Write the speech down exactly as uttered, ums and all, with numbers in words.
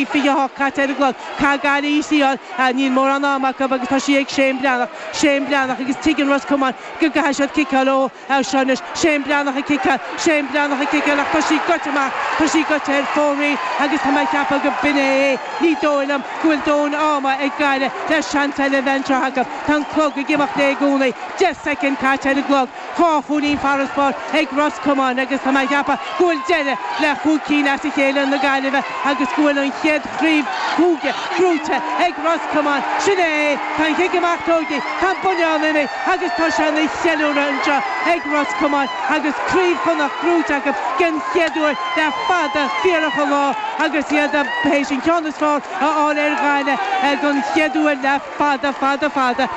naoi fiche a hocht caite ar an gclog. Caithfidh Gaillimh í a fháil, níl mórán ama acu agus tá sí ag Shane Breathnach. Shane Breathnach agus tuigeann Ros Comáin go gcaithfidh siad ciceáil ó seo anois. Shane Breathnach ag ciceáil, Shane Breathnach ag ciceáil ach tá sí gaibhte amach, tá sí gaibhte ar fóraoil agus tá mé ag ceapadh go b'in é é. Ní dóigh liom go bhfuil dóthain ama ag Gaillimh le seans eile a bheith anseo acu. Tá an clog ag imeacht i gcónaí. Deich soicind caite ar an gclog. Dhá chúilín farasbarr ag Ros Comáin agus tá mé ag ceapadh go bhfuil deireadh le chúig cinn as a chéile na Gaillimhe agus go bhfuil an chéad chraobh chúige gnóthaithe ag Ros Comáin. Sin é tá an chic amach tógtha, tá an buinneán imithe agus tá sé ina cheiliúradh anseo ag Ros Comáin agus craobh Chonnacht gnóthaithe acu den chéad uair le fada fíorach an lá agus iad théis an ceann is fearr a fháil ar Ghaillimh den chéad uair le fada fada fada.